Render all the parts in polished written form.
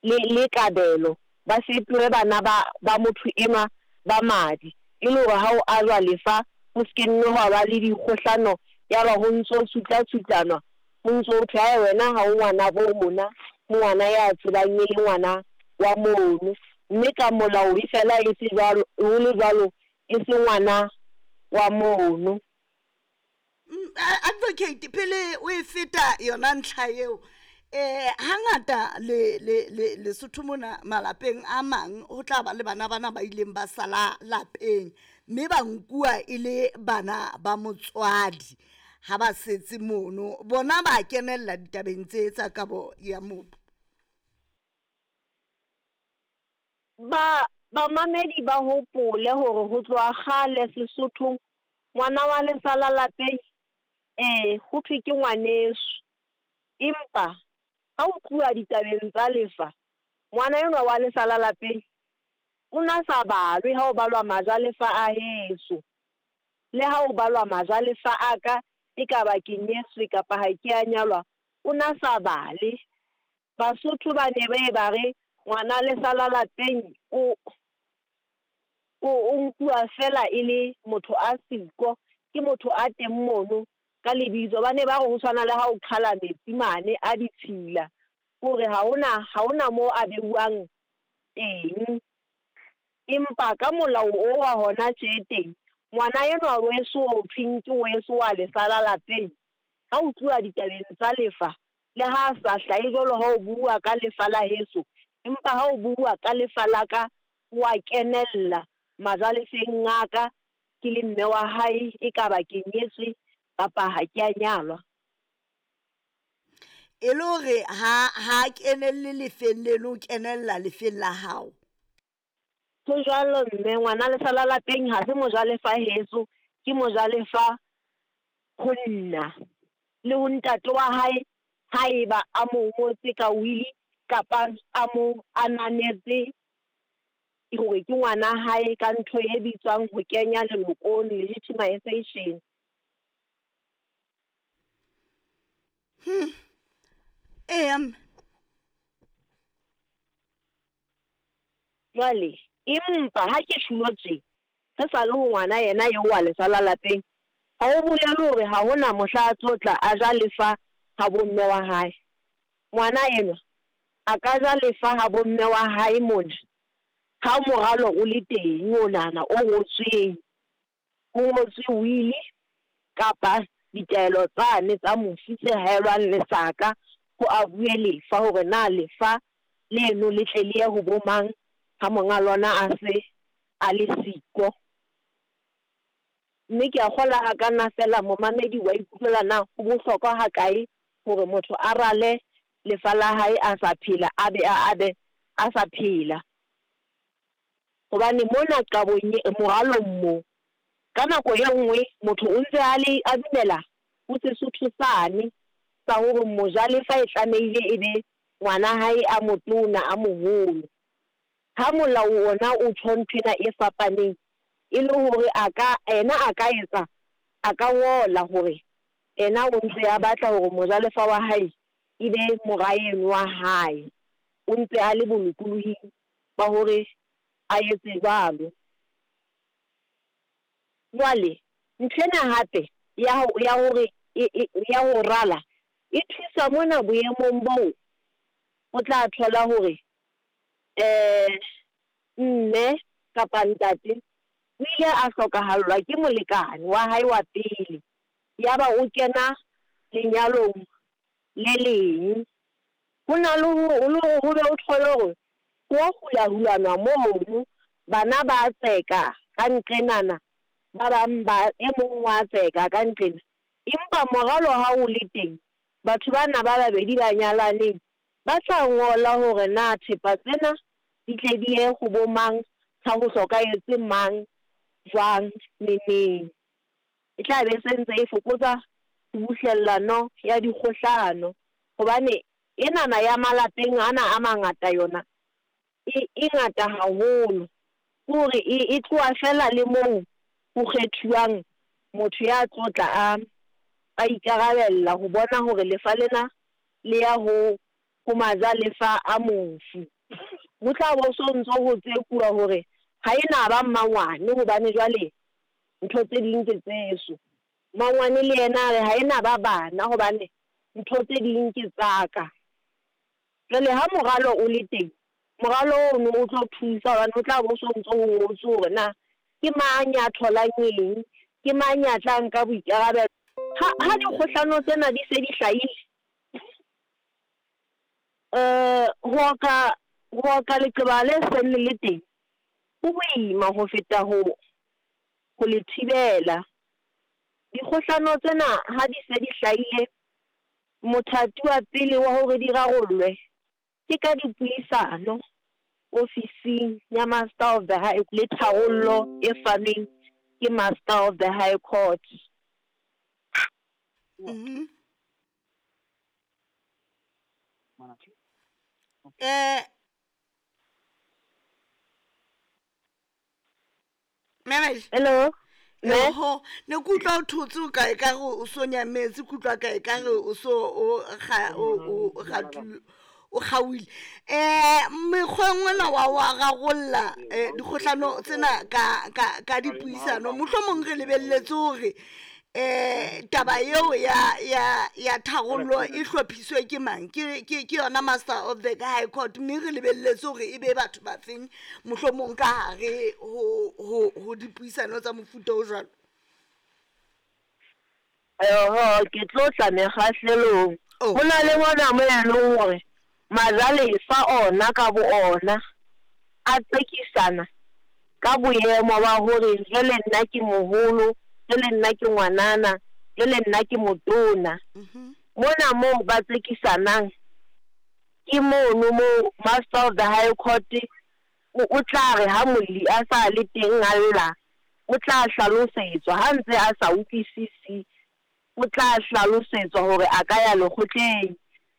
le, le kabelo, ba fetohe bana ba, ba motho enwa ba madi, e le hore ha ho ajwa lefa ho se ke nne hwa ba le dikgohlano yaba ho ntso tsutlatsutlanwa, ho ntso ho thwe, Ae wena ha o ngwanabo rona, o ngwana ya tsebang e le ngwana wa mono. Mme ka molao e fela e se jwalo, ho le jwalo e se ngwana wa mono. Advocate, pele o e feta yona ntlha eo, eh hangata le le le Lesotho mona malapeng a mang ho tla ba le bana bana ba ileng ba sala lapeng mme ba nkuwa e le bana ba motswadi ha ba setse mono, bona ba kenella ditabeng tse tsa kabo ya mobu. Ba bamamedi ba hopole hore ho tloha kgale Sesothong ngwana wa lesala lapeng ee ho thwe ke ngwaneso. Empa ha ho tluwa ditabeng tsa lefa, ngwana enwa wa lesala lapeng o na sa balwe ha o balwa majalefa a heso. Le ha o balwa majalefa a ka, ekaba ke nyetswe kapa ha ke a nyalwa, o na sa bale. Basotho ba ne ba ye ba re ngwana lesala lapeng o o o nkuwa fela e le motho a siko, ke motho a teng mono ka lebitso. Ba ne ba re ho tshwana le ha o qhala metsi mane a ditshila, hore ha hona ha hona moo a beuwang teng. Empa ka molao o wa hona tje teng, ngwana enwa weso o thweng ke weso wa lesala lapeng, ha o tluwa ditabeng tsa lefa, le ha a sa hlahe jwalo ha o bua ka lefa la heso, empa ha o bua ka lefa la ka, wa kenella majalefeng a ka ke le mme wa hae, ekaba ke nyetswe kapa ha ke a nyalwa. E le hore ha ha kenelle lefeng leno, o kenella lefeng la hao. Ho jwalo mme, ngwana lesala lapeng ha se mojalefa heso, ke mojalefa ho nna le ho ntate wa hae haeba a mo ngotse ka wili kapa a mo ananetse hore ke ngwana hae ka ntho e bitswang ho kenya lelokong, legitimization. Eya mme. Jwale empa ha ke tjhulo tje, re sa le ho ngwana yena eo wa lesala lapeng, ha ho bolele hore ha hona mohla a tlo tla a ja lefa ha bomme wa hae. Ngwana enwa a ka ja lefa ha bomme wa hae mona ha moralo o le teng onana o ngotsweng, ho ngotswe wili kapa ditaelo tsane tsa mofu tse haelwang lesaka ho abuwe lefa hore na lefa leno le tle le ye ho bo mang ha monga lona a se a le siko. Mme ke a kgolwa ha ka nna fela momamedi wa ikutlwela na ho bohlokwa ha kae hore motho a rale lefa la hae a sa phela, a be a abe a sa phela. Hobane mona qabong e moralong mo, ka nako e nngwe motho o ntse a le a dumela ho Sesotho sane sa hore mojalefa e tlamehile e be ngwana hae a motona a moholo. Ha molao ona o tjho nthwena e fapaneng, e le hore a ka ena a ka etsa a ka ngola hore ena o ntse a batla hore mojalefa wa hae e be mora eno wa hae. O ntse a le bolokolohing ba hore a etse jwalo. Jwale nthwena hape ya ho ya hore ya ho rala e thusa mona boemong boo o tla thola hore mme kapa ntate o ile a hlokahallwa ke molekane wa hae wa pele, yaba o kena lenyalong le leng. Ho na le hore ho be o thole hore ho hula-hulanwa mono, bana ba tseka ka nqenana, ba bang ba e mong wa tseka ka nqena. Empa moralo ha o le teng, batho bana ba babedi ba nyalaneng ba tla ngola hore na thepa tsena di tle di ye ho bo mang, ha ho hlokahetse mang, jwang, neneng. E tla be se ntse e fokotsa tshubuhlellano ya dikgohlano, hobane enana ya malapeng ana a mangata yona e e ngata haholo. Ke hore e e tloha fela le moo ho kgethuwang motho ya tlo tla a a ikarabella ho bona hore lefa lena le ya ho ho majalefa a mofu. Ho tla bo so ntso ho tsekuwa hore ha e na ba mmangwane hobane jwale ntho tse ding ke tseso. Mmangwane le yena a re ha e na ba bana hobane ntho tse ding ke tsa ka. Jwale ha moralo o le teng, moralo ono o tlo thusa hobane ho tla bo so ntso ho ngotswe hore na ke mang ya tholang eng, ke mang ya tla nka boikarabelo. Ha dikgohlano tsena di se di hlahile, ho oka ho oka leqeba le seng le le teng ho boima ho feta ho ho le thibela. Dikgohlano tsena ha di se di hlahile, mothati wa pele wa hore di rarollwe ke ka dipuisano ofising ya Master of the High le tharollo e fanweng ke Master of the High Court. Mabel. Hello. Me? Oho, ne ke utlwa o thotse o ka e ka re o so nyametse, ke utlwa ka e ka re o so o ga o o gatu o kgaoile. Mekgweng ona wa wa rarolla dikgohlano tsena ka ka ka dipuisano. Mohlomong re lebelletse hore taba eo ya ya ya tharollo e hlophiswe ke mang? Ke ke ke yona Master of the High Court, mme re lebelletse hore e be batho ba feng mohlomong ka hare ho ho ho dipuisano tsa mofuta o jwalo. Oho, ke tlo tla mekgahlelong. Oh. Ho na le mona mo e leng hore majalefa ona ka bo ona a tsekisana ka boemo ba hore jwale nna ke moholo, jwale nna ke ngwanana, jwale nna ke motona. Mona moo ba tsekisanang ke mono moo Master of the High Court o tla re ha molli a sa le teng a lla, o tla hlalosetswa ha ntse a sa utlwisisi, o tla hlalosetswa hore a ka ya lekgotleng.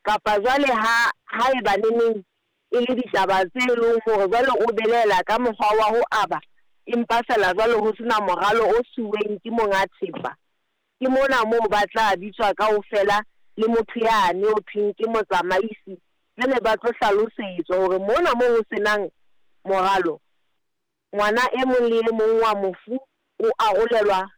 Kapa jwale ha haeba neneng e le ditaba tse leng hore jwale o belaela ka mokgwa wa ho aba, empa feela jwale ho sena moralo o siuweng ke monga thepa. Ke mona moo ba tla bitswa kaofela le motho yane ho thweng ke motsamaisi, jwale ba tlo hlalosetswa hore mona moo ho senang moralo, ngwana e mong le e mong wa mofu o arolelwa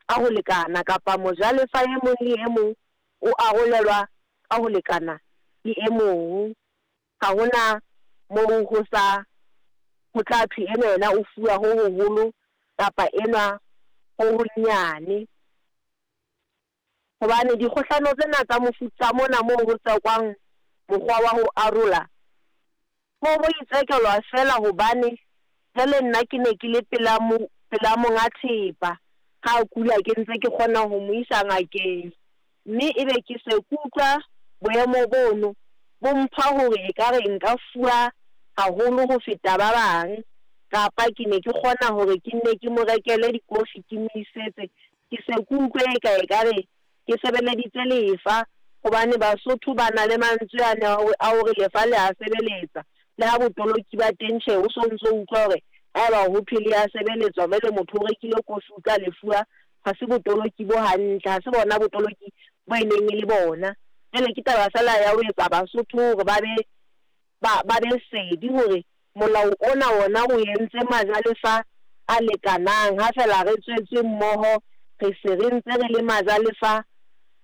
ka ho lekana kapa mojalefa e mong le e mong o arolelwa ka ho lekana le e mong. Ha hona moo ho sa ho tla thwe enwa yena o fuwa ho hoholo kapa enwa ho honyane. Hobane dikgohlano tsena tsa mofuta mona moo ho tsekwang mokgwa wa ho arola, ho bo itsekelwa feela hobane jwale nna ke ne ke le pela mo pela monga thepa, ha a kula ke ntse ke kgona ho mo isa ngakeng. Mme ebe ke se ke utlwa boemo bono bo mpha hore ekare nka fuwa haholo ho feta ba bang, kapa ke ne ke kgona hore ke nne ke mo rekele dikofi ke mo isetse. Ke se ke utlwe eka ekare ke sebeleditse lefa, hobane Basotho ba na le mantswe ane a hore lefa le a sebeletsa. Le ha botoloki ba teng tjhe, o so ntso utlwa hore haeba ho thwe le a sebeletswa jwale motho o rekile kofi o tla lefuwa, ha se botoloki bo hantle, ha se bona botoloki bo e neng e le bona. Jwale ke taba feela ya ho etsa Basotho hore ba be ba ba be sedi hore molao ona wona o entse majalefa a lekanang. Ha feela re tswetswe mmoho, re se re ntse re le majalefa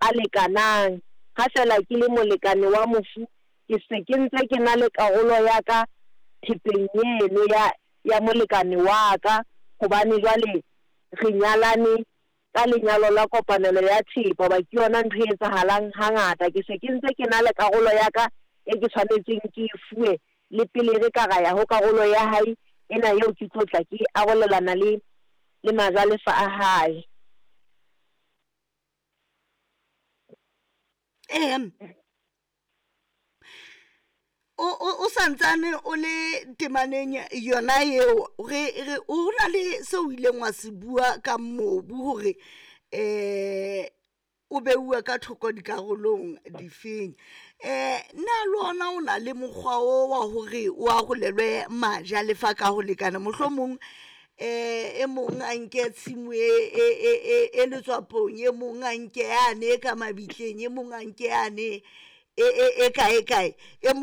a lekanang. Ha feela ke le molekane wa mofu, ke se ke ntse ke na le karolo ya ka thepeng eno ya ya molekane wa ka, hobane jwale re nyalane ka lenyalo la kopanelo ya thepa, hoba ke yona ntho e etsahalang hangata. Ke se ke ntse ke na le karolo ya ka e ke tshwanetseng ke e fuwe le pele re ka ra ya ho karolo ya hae ena eo ke tlo tla ke arolelana le le majalefa a hae. O santsane o le temaneng yona eo, re re o na le seo o ileng wa se bua ka mobu hore o beuwa ka thoko dikarolong difeng. Na le ona o na le mokgwa o wa hore o arolelwe majalefa ka ho lekana? Mohlomong e mong a nke tshimo e e e e e letswapong, e mong a nke yane e ka mabitleng, e mong a nke yane e e e kae kae, e mong.